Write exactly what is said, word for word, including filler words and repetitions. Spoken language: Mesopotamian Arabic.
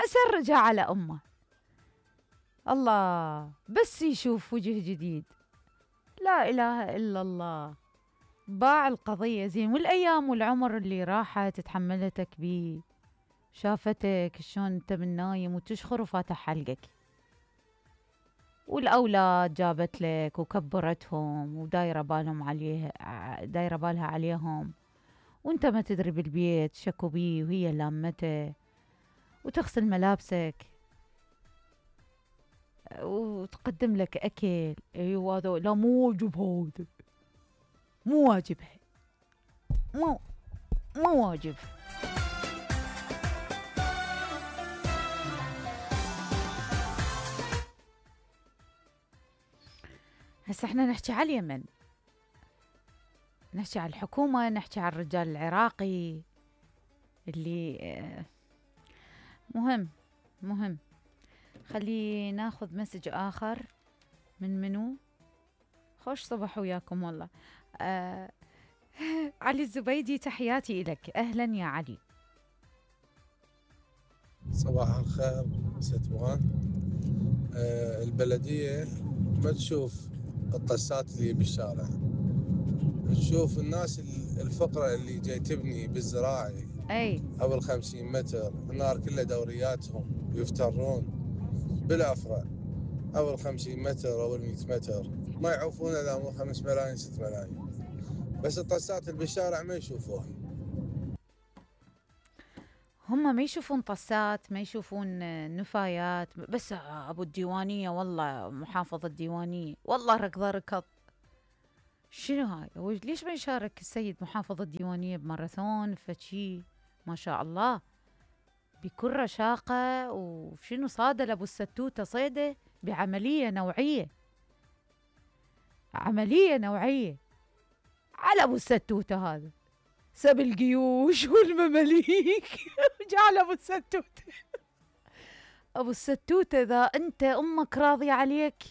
أسرجها على أمه. الله بس يشوف وجه جديد، لا إله إلا الله، باع القضية زين. والأيام والعمر اللي راحت تحملتك بيه، شافتك شلون انت من نايم وتشخر وفاتح حلقك، والأولاد جابت لك وكبرتهم ودايرة بالهم عليه، دايرة بالها عليهم، وانت ما تدري بالبيت شكو بيه وهي لامته، وتغسل ملابسك وتقدم لك أكل. أيوة هذا لا مو واجب، هذا مو واجبها، مو مو واجب. هسه احنا نحكي على اليمن، نحكي على الحكومة، نحكي على الرجال العراقي اللي مهم مهم. خلي ناخذ مسج آخر. من منو؟ خوش صباح وياكم والله. آه علي الزبيدي، تحياتي إلك. أهلا يا علي. صباح الخير ستوان. آه البلدية ما تشوف الطسات اللي بالشارع، تشوف الناس الفقرة اللي جاي تبني بالزراعي أي أو الخمسين متر، النار كلها دورياتهم يفترون بالأفرع أو الخمسين متر أو المئة متر، ما يعوفون إلا مو خمس ملايين ست ملايين، بس الطسات اللي بالشارع ما يشوفوها. هم ما يشوفون طسات، ما يشوفون نفايات، بس أبو الديوانية والله محافظة الديوانية والله ركضة ركض. شنو هاي؟ ليش ما يشارك السيد محافظ الديوانية بماراثون فشي؟ ما شاء الله بكل رشاقة. وشنو صاد لأبو الستوتة صيدة بعملية نوعية، عملية نوعية على أبو الستوتة، هذا سب الجيوش والمماليك جعل أبو الستوتة. أبو الستوتة إذا أنت أمك راضية عليك